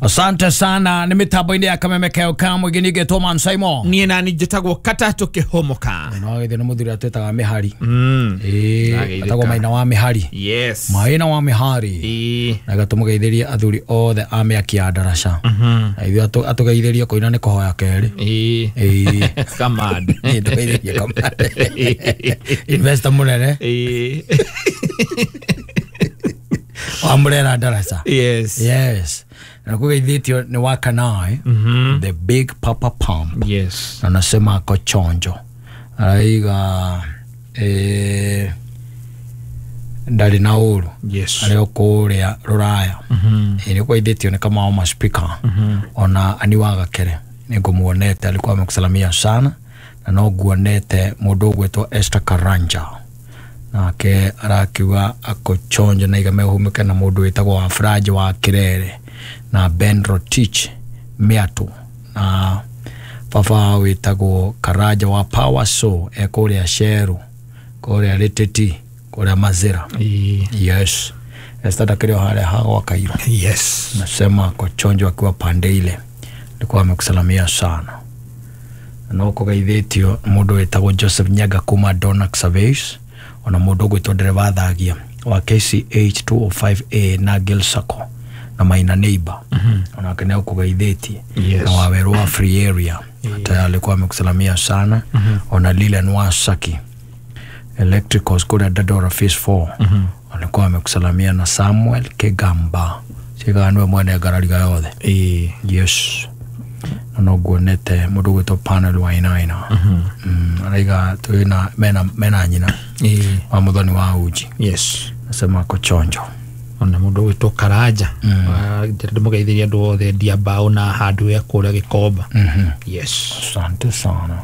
Asante sana nĩ mĩtambo-inĩ ya Kameme keo ka mũingĩ ningĩ Thomas Simon. Niĩ nani njĩtagwo Katatũ Kĩhũmũka. No gĩthĩ nĩ mũthuri atwĩtaga mĩhari. Ĩĩ, atagwo Maina wa mĩhari. Yes. Maina wa mĩhari. Ĩĩ. Na gatũmũgeithĩrie athuri othe a mĩaki ya ndaraca. Na ithuĩ atũgeithĩrie kũina nĩ kũhoya kerĩ. Ĩĩ. Ĩĩ. Kamad. Ĩĩ, tũgeithĩrie Kamad. Investor mũnene. Ĩĩ. Wa Murera ndaraca. Yes. Yes. Na kũgeithĩtio nĩ wa Kanai. The Big Papa Pump. Yes. Na nasema ako chonjo. Araiga ndarĩ na ũru. Yes. Arĩ o kũrĩa rũraya. Ĩ nĩ kũgeithĩtio nĩ Kamau ma speaker. Ona ani wa Gakere nĩ ngũmuonete, alikuwa amekusalamia sana, na no nguonete mũndũ ũgwĩtwo Esther Karanja, nake arakiuga ako chonjo na iga mehumĩke, na mũndũ wĩtagwo Wafranji wa Kirere na Ben Rotich Miatu na baba wĩtagwo Karanja wa Power So e kũrĩa Sheru, kũrĩa Rĩtĩti, kũrĩa Mazira. Ĩĩ. Yes, Esther ndakĩrĩ o harĩa hagwa Kairo. Yes. Nasema ako chonjo akiwa pande ile, alikuwa amekusalamia sana. No kũgeithĩtio mũndũ wĩtagwo Joseph Nyaga kuma Donax Surveys, ona mũndũ ũgwĩtwo ndereba thagia wa KCH 205A na Gil Sacco na Maina Neighbor, onake nĩ ũkũgeithĩtie. Yes. Na wawerũ wa Free Area hata alikuwa amekusalamia sana. Ona Lilian Wasaki Electricals kũrĩa Dandora Phase 4 alikuwa amekusalamia, na Samuel Kigamba cigaa nĩwe mwene ngarariga yothe. Ĩĩ. Yes, na no nguonete mũndũ ũgwĩtwo Panel Wainaina. Araiga twĩna mena nyina Ĩĩ. wa mũthoni wa uji. Yes. Nasema ako chonjo. Ona mũndũ ũgwĩtwo Karanja ndĩmũgeithĩrie andũ othe endia mbaũ na hardware kũrĩa Gĩkomba. Yes. Asante sana.